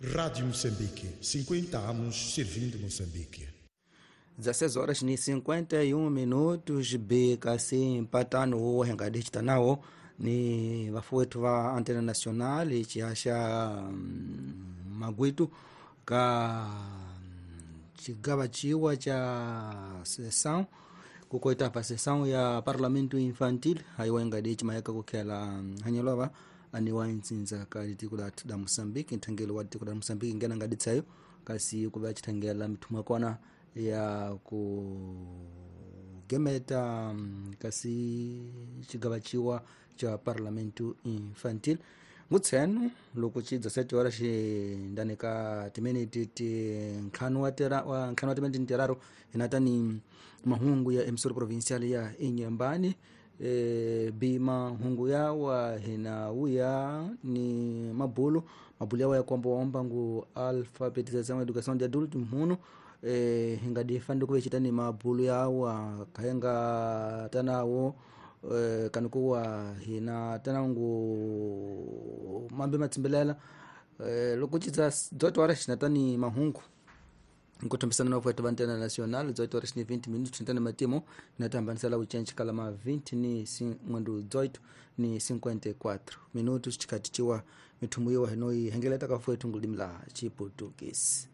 Rádio Moçambique, 50 anos servindo Moçambique. 16 horas ni 51 minutos bkc mpatano wo hengadicita nawo ni vafuwetu va Antena Nacional cihaxa magwitu ka cigava ciwa ca sessão kukoita pa sessão ya Parlamento Infantil haiwa engadici mayaka kukhela hanyelova aniwa ntsinza ka litiko da Moçambique, nthangelo wa litiko da Moçambique ngena ngaditsayo kasi kuva cithangela mithumwa kona ya kugemeta kasi cigava ciwa ca Parlamento Infantil. Ngutsenu loko ci 17 horas xindani ka timiniti ti ntlhanu wa ntlhanu wa timiniti tiraru hinatani mahungu ya emissora provincial ya Inhambane. Bi mahungu yawa hina wuya ni mabulu mabulu yawa ya kwamba waomba ngu alfabetização educação de adulto mhuno hingadi kuve citani mabulu yawa kahenga tanawo kanukuwa hina tanangu mambe matsimbelela loko cidza 18 horas xinatani mahungu nkuthambisana na vafuetu va Antena Nacional. 18 horas ni 20 minutos xinatani matimo hinatahambanisela ucenci kala ma 20 ni 18 ni 54 minutos cikati ciwa mithumu yiwa hinoyi hengeleta ka fuetu ngulimi la Chiputukisi.